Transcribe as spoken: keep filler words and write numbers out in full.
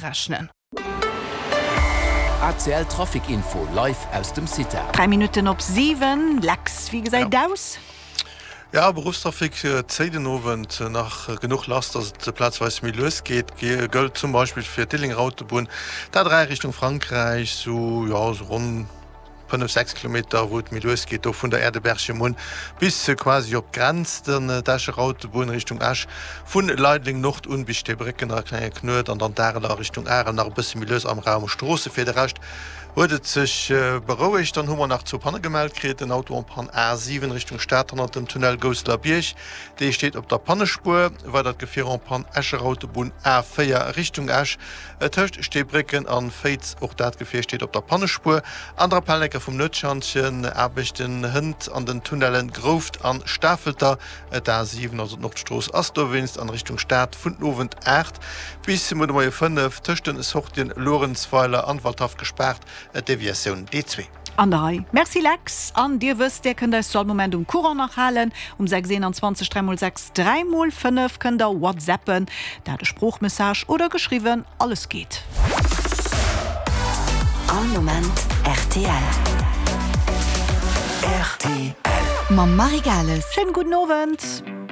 Rechnen. A C L Trafic Info live aus dem Cita. Dräi Minutten op siwen, Lex, wéi gesäit et aus? Ja, Beruffstrafic zéit den Owend nach genuch lass, dass et plazweis méi lues geet. Gëllt zum Beispill fir d'Diddelénger Autobunn, d'A dräi Richtung Frankräich, sou, jo, sou ronn fënnef, sechs Kilometer, wou et méi lues geet, do vun der Aire de Berchem un bis quasi op d'Grenz. Dann d'Escher Autobunn Richtung Esch, vu Leideleng Nord un bis Steebrécken nach e klenge Knuet an dann d'Areler Richtung Arel nach e bësse méi lues am Raum Stroosse. Fir de Rescht huet et sech berouegt. Dann hu mer nach zwou Panne gemellt kritt, en Auto en panne A siwen Richtung Stad hannert dem Tunnel Gousseler Bierg, dee steet op der Pannespuer. Weidert Gefier en panne Escher Autobunn A véier Richtung Esch tëscht Steebrécken an Féiz, och dat Gefier steet op der Pannespuer. An der Appellenker vum Nuetschantjen, Aarbechten hënt an den Tunnellen Grouft an Stafelter. D'A siwen, also d'Nordstrooss, ass dowéinst an Richtung Stad vun den Owend aacht bis muer de Moie fënnef tëscht den Sortien Luerenzweiler an Waldhaff gespaart, Deviatioun D zwee. An der Rei. Merci Lex. An Dir wësst, Dir kënnt eis zu all Moment um Courant nach halen. Um sechs eenanzwanzeg dräi mol sechs dräi mol fënnef kënnt Der whatsappen, dat e Sproochmessage oder geschriwwen, alles geet. All Moment rtl. Rtl. Mam Marie Gales. Schéinen gudden Owend.